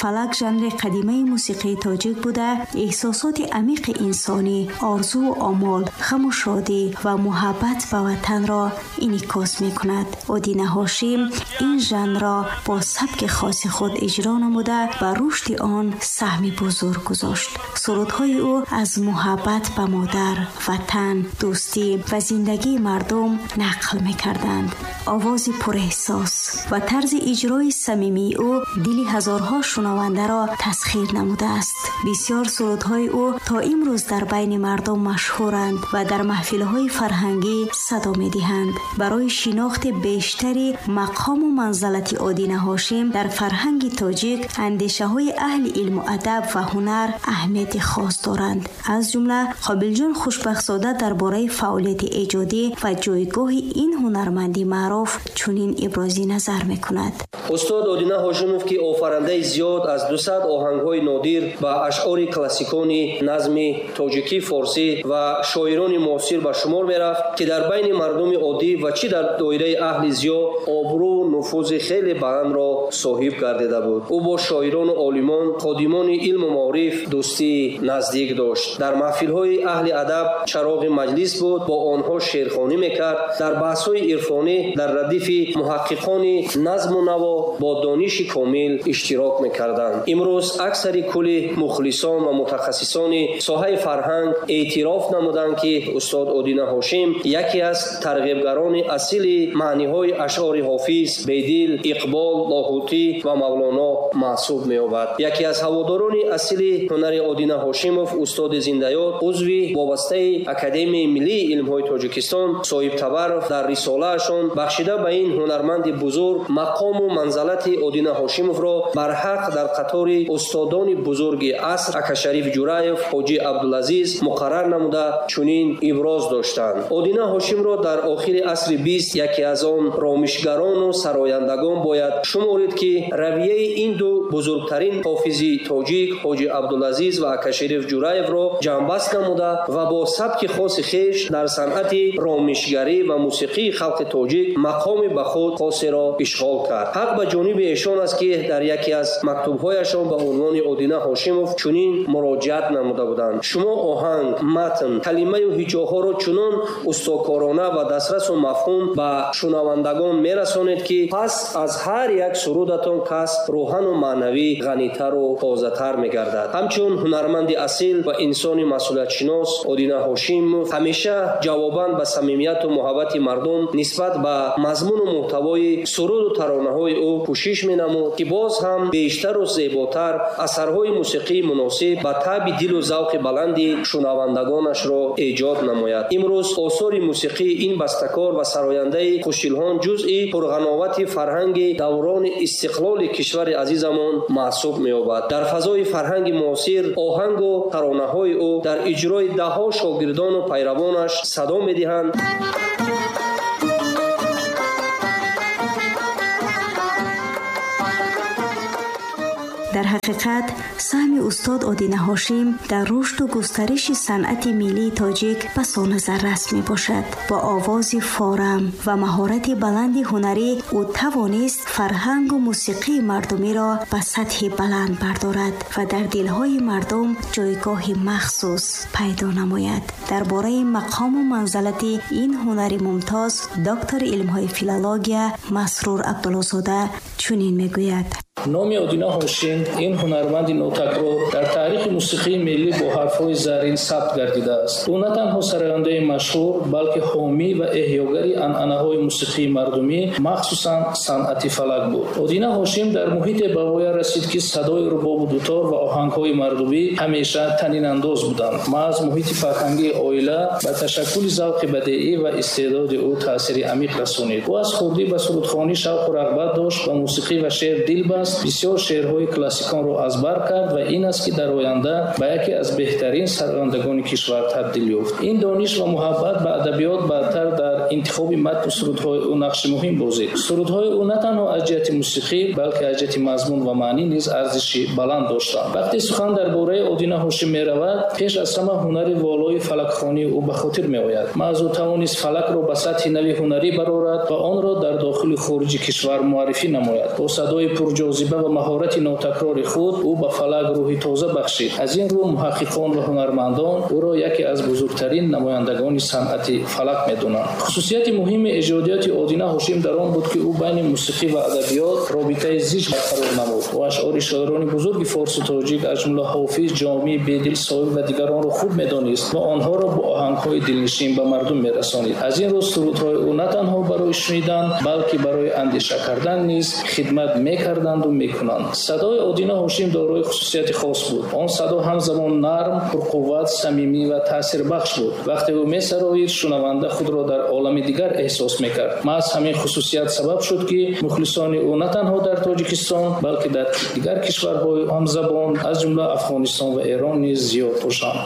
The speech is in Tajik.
Фалак жанри қадимаи мусиқии тоҷик буда, эҳсосоти амиқи инсонӣ, орзуву омол, ғаму шодӣ ва муҳаббат ба ватанро инъикос мекунад. Одина Ҳошим ин жанрро бо сабки хоси худ иҷро намуда, ба рушди он саҳми бузург гузошт. Сурудҳои ӯ аз муҳаббат ба модар, ватан, дӯстӣ ва зиндагии мардум нақл мекарданд. Овози пурэҳсос ва тарзи иҷрои самимии ӯ дили ҳазорҳо шунавандаро тасхир намудааст. Бисёр сурудҳои ӯ то имрӯз дар байни мардум машҳуранд ва дар маҳфилҳои фарҳангӣ садо медиҳанд. Барои шинохти бештари мақому манзалати Одина Ҳошим дар фарҳанги тоҷик, андешаҳои аҳли илму адаб ва ҳунар аҳамияти хос доранд. Аз ҷумла Қобилҷон Хушбахтзода дар бораи фаъолияти эҷодӣ ва ҷойгоҳи ин ҳунарманди маъруф чунин ибрози назар мекунад. Устод Одина Ҳошимов, ки офарандаи зиёд аз 200 оҳангҳои нодир ба ашъори классикони назми тоҷикӣ, форсӣ ва шоирони муосир ба шумор мерафт, ки дар байни мардуми оддӣ ва чӣ дар доираи аҳли зиё обрӯ нуфузи хеле баландро соҳиб гардида буд. Ӯ бо шоирону олимон, ходимони илму маориф дӯстии наздик дошт. Дар маҳфилҳои аҳли адаб чароғи маҷлис буд, бо онҳо шеърхонӣ мекард. Дар баҳсҳои ирфонӣ дар радифи муҳаққиқони назму наво бо дониши комил иштирок мекарданд. Имрӯз аксари кулли мухлисон ва мутахассисони соҳаи фарҳанг эътироф намуданд, ки устод Одина Ҳошим яке аз тарғибгарони асили маъниҳои ашъори Ҳофиз, Бедил, Иқбол, Лоҳутӣ ва Мавлоно маҳсуб меёбад. Яке аз ҳаводорони асили ҳунари Одина Ҳошимов, устоди зиндаёд, узви вобастаи Академияи миллии илмҳои Тоҷикистон Соҳиб Табаров дар рисолаашон бахшида ба ин ҳунарманди бузург мақому манзалати Одина Ҳошимовро барҳақ дар қатори устодони бузурги аср Акашариф Ҷураев, Ҳоҷӣ Абдулазиз муқаррар намуда чунин иброз доштанд. Одина Ҳошимро дар охири асри 20 яке аз он ромишгарону сарояндагон бояд шуморид, ки равияи ин ду бузургтарин ҳофизи тоҷик Ҳоҷӣ Абдулазиз ва Акашариф Ҷураевро ҷамъбаст намуда ва бо сабки хоси хеш дар санъати ромишгарӣ ва мусиқии халқи тоҷик мақоми ба худ хосеро ишғол кард. Ҳақ ба ҷониби эшон аст, ки дар яке аз мактубҳояшон ба унвони Одина Ҳошимов чунин муроҷиат намуда буданд: шумо оҳанг, матн, калимаю ҳиҷоҳоро чунон устокорона ва дастрасу мафҳум ба шунавандагон мерасонед, ки пас аз ҳар як сурудатон кас рӯҳану маънавӣ ғанитару тозатар мегардад. Ҳамчун ҳунарманди асил ва инсони масъулиятшинос, Одина Ҳошимов ҳамеша ҷавобан ба самимияту муҳаббати мардум нисбат ба мазмуну муҳтавои суруду таронаҳои ӯ кӯшиш менамуд, ки боз ҳам бештару зеботар асарҳои мусиқии муносиб ба таъби дилу завқи баланди шунавандагонашро эҷод намояд. Имрӯз осори мусиқии ин бастакор ва сарояндаи хушилҳон ҷузъи пурғановати фарҳанги даврони истиқлоли кишвари азизамон маҳсуб меёбад. Дар фазои фарҳанги муосир оҳангу таронаҳои ӯ дар иҷрои даҳҳо шогирдону пайравонаш садо медиҳанд. Дар ҳақиқат саҳми устод Одина Ҳошим дар рушду густариши санъати миллии тоҷик басо назаррас мебошад. Бо овози форам ва маҳорати баланди ҳунарӣ ӯ тавонист фарҳангу мусиқии мардумиро ба сатҳи баланд бардорад ва дар дилҳои мардум ҷойгоҳи махсус пайдо намояд. Дар бораи мақому манзалати ин ҳунари мумтоз доктори илмҳои филология Масрур Абдуллозода чунин мегӯяд: Номи Одина Ҳошим, ин ҳунарманди нотакрор, дар таърихи мусиқии миллӣ бо ҳарфҳои заррин сабт гардидааст. Ӯ на танҳо сарояндаи машҳур, балки ҳомӣ ва эҳёгари анъанаҳои мусиқии мардумӣ, махсусан санъати фалак буд. Одина Ҳошим дар муҳите ба воя расид, ки садои рубобу дутор ва оҳангҳои мардумӣ ҳамеша танинандоз буданд. Маҳз муҳити фарҳангии оила ба ташаккули завқи бадеӣ ва истеъдоди ӯ таъсири амиқ расонид. Ӯ аз хурдӣ ба сурудхонӣ шавқу рағбат дошт, ба мусиқӣ ва шеър дил баст, бисёр шеърҳои классиконро аз бар кард ва ин аст, ки дар оянда ба яке аз беҳтарин сарояндагони кишвар табдил ёфт. Ин дониш ва муҳаббат ба адабиёт баъдтар дар интихоби матну сурудҳои ӯ нақши муҳим бозид. Сурудҳои ӯ на танҳо аз ҷиҳати мусиқӣ, балки аз ҷиҳати мазмун ва маънӣ низ арзиши баланд доштанд. Вақте сухан дар бораи Одина Ҳошим меравад, пеш аз ҳама ҳунари волои фалакхонии ӯ ба хотир меояд. Маҳз ӯ тавонист фалакро ба сатҳи нави ҳунарӣ барорад ва онро дар дохилу хориҷи кишвар муаррифӣ намояд. Бо садои пурҷозиба ва маҳорати нотакрори худ ӯ ба фалак рӯҳи тоза бахшид. Аз ин рӯ муҳаққиқон ва ҳунармандон ӯро яке аз бузургтарин намояндагони санъати фалак медонанд. Хусусияти муҳими эҷодиёти Одина Ҳошим дар он буд, ки ӯ байни мусиқӣ ва адабиёт робитаи зич барқарор намуд. Ӯ ашъори шоирони бузурги форсу тоҷик, аз ҷумла Ҳофиз, Ҷомӣ, Бедил, Соҳиб ва дигаронро хуб медонист ва онҳоро бо оҳангҳои дилнишин ба мардум мерасонид. Аз ин рӯ сурудҳои ӯ на танҳо барои шунидан, балки барои андеша кардан низ хидмат мекарданду мекунанд. Садои Одина Ҳошим дорои хусусияти хос буд. Он садо ҳамзамон нарм, пурқувват, самимӣ ва таъсирбахш буд. Вақте ӯ месароид, шунаванда худро дар олами дигар эҳсос мекард. Маҳз ҳамин хусусият сабаб шуд, ки мухлисони ӯ на танҳо дар Тоҷикистон, балки дар дигар кишварҳои ҳамзабон, аз ҷумла Афғонистон ва Эрон низ зиёд бошанд.